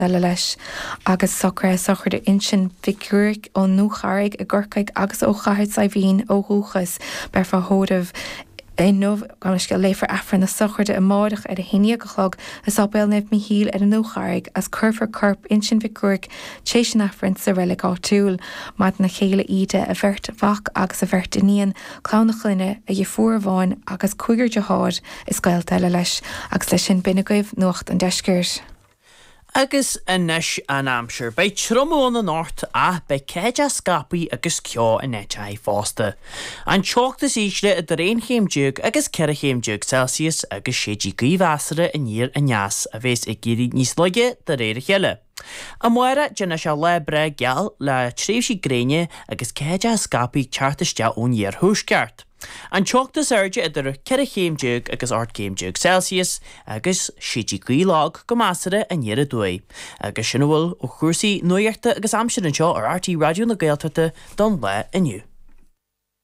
Eile leis, agus socruithe sochraide Uinseann Mhic Ruairc ón nDúcharraig i gCorcaigh agus ó Chathair Saidhbhín ó dhúchas. Beifear á thórramh inniu, gabh mo leithscéal, léifear Aifreann na sochraide amáireach ar a haon dhéag a chlog i Sáipéal Naomh Michíl ar an nDúcharraig agus cuirfear corp Uinseann Mhic Ruairc tréis an Aifrinn sa reilig áitiúil. Maireann a chéile Íde, a bheirt mhac agus a bheirt iníon, clann a chlainne, a dheirfiúr amháin agus cúigear dearthár is gaolta eile leis. Agus leis sin b'in agaibh Nuacht an Deiscirt. Agus anois an aimsir. Beidh triomú ann anocht ach beidh ceathaideach scaipthe agus ceo in áiteacha fosta. An teocht is ísle idir 11 chéim agus 14 chéim Celsius agus séidfidh gaoth mheasartha aniar aneas a bheas ag éirí níos laige de réir a chéile. Amárach déanfaidh sé lá breá geal le tréimhsí gréine agus ceathaideach scaipthe ag teacht isteach ón iarthuaisceart. An teocht is airde idir 14 chéim agus 18 céim Celsius agus séidfidh gaoth lag go measartha aniar aduaidh. Agus sin a bhfuil ó chúrsaí nuachta agus aimsire anseo ar RTÉ Raidió na Gaeltachta don lá inniu.